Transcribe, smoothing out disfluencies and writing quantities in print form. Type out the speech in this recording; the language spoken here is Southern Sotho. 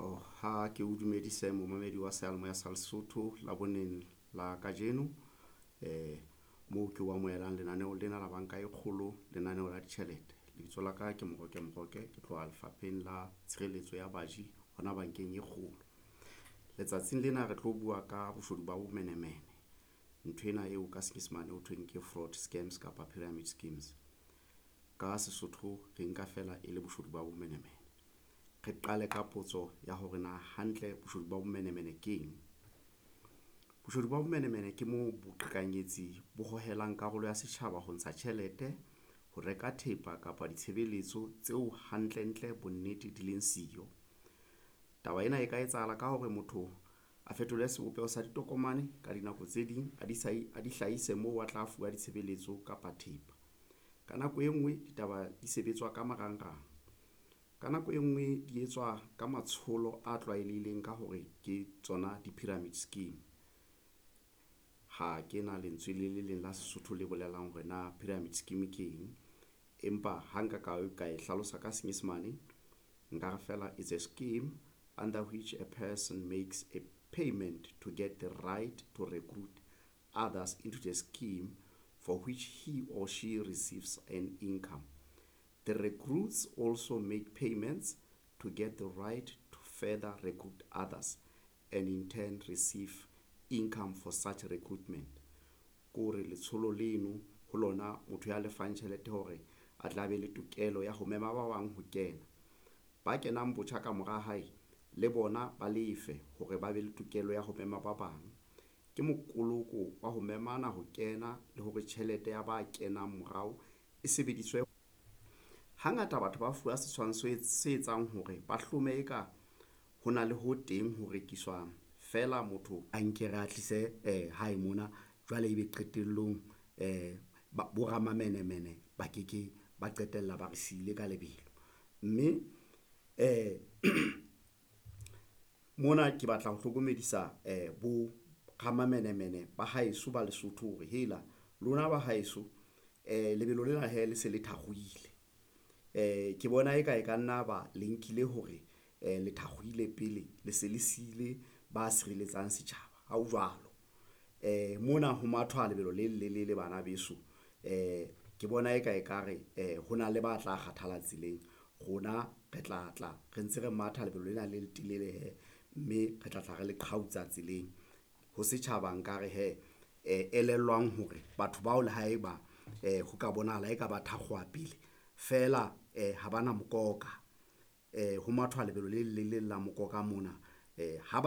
Oh, ha ke o dumedise momamedi wa seyalemoya sa Lesotho Laboneng la kajeno. Moo ke o amohelang lenaneo lena la banka e kgolo, lenaneo la ditjhelete. Lebitso la ka ke Moroke Moroke, ke tloha Lefapheng la Tshireletso ya Baji hona bankeng e kgolo. Letsatsing lena re tlo bua ka boshodu ba bomenemene, nthwena eo ka Senyesemane ho thweng ke fraud scams kapa pyramid schemes. Ka Sesotho re nka feela e le boshodu ba bomenemene. Re qale ka potso ya hore na hantle boshodu ba bomenemene keng. Boshodu ba bomenemene ke moo boqhekanyetsi bo hohelang karolo ya setjhaba ho ntsha tjhelete, ho reka thepa kapa ditshebeletso tseo hantlentle bonnete di leng siyo. Taba ena e ka etsahala ka hore motho a fetole sebopeho sa ditokomane ka dinako tse ding a di hlahise moo a tla fuwa ditshebeletso kapa thepa. Ka nako e nngwe ditaba di sebetswa ka marangrang, ka nako e nngwe di etswa ka matsholo a tlwaelehileng ka hore ke tsona di-pyramid scheme. Ha ke na lentswe le le leng la Sesotho le bolelang hore na pyramid scheme ke eng, empa ha nka ka e hlalosa ka Senyesemane, nkare feela it's a scheme under which a person makes a payment to get the right to recruit others into the scheme for which he or she receives an income. The recruits also make payments to get the right to further recruit others and in turn receive income for such recruitment. Kore letsholo leno ho lona motho ya lefang tjhelete hore a tla be le tokelo ya ho mema ba bang ho kena. Ba kenang botjha ka mora hae le bona ba lefe hore ba be le tokelo ya ho mema ba bang. Ke mokoloko wa ho memana ho kena le hore tjhelete ya ba kenang morao e sebediswe. Hangata batho ba fuwa setshwantsho se etsang hore ba hlome eka ho na le ho teng ho rekiswang feela motho a nke re a tlise hae mona jwale ebe qetellong bo ramamenemene ba ke ke ba qetella ba re siile ka lebelo, mme mona ke batla ho hlokomedisa bo ramamenemene ba haeso ba Lesotho hore hela lona ba haeso lebelo lena hee le se le thakgohile. Ke bona eka e ka nna ba le nkile hore le thakgohile pele le se le sile ba sireletsang setjhaba ha ho jwalo. Mona ho mathwa lebelo le lelele bana beso ke bona eka ekare ho na le ba tla kgathala tseleng, rona re tla tla re ntse re matha lebelo lena le letelele hee, mme re tla tla re le qhautsa tseleng. Ho setjhaba nkare hee elellwang hore batho bao le haeba ho ka bonahala eka ba thakgoha pele feela ha ba na mokoka, ho mathwa lebelo le lelele la mokoka mona ha ba.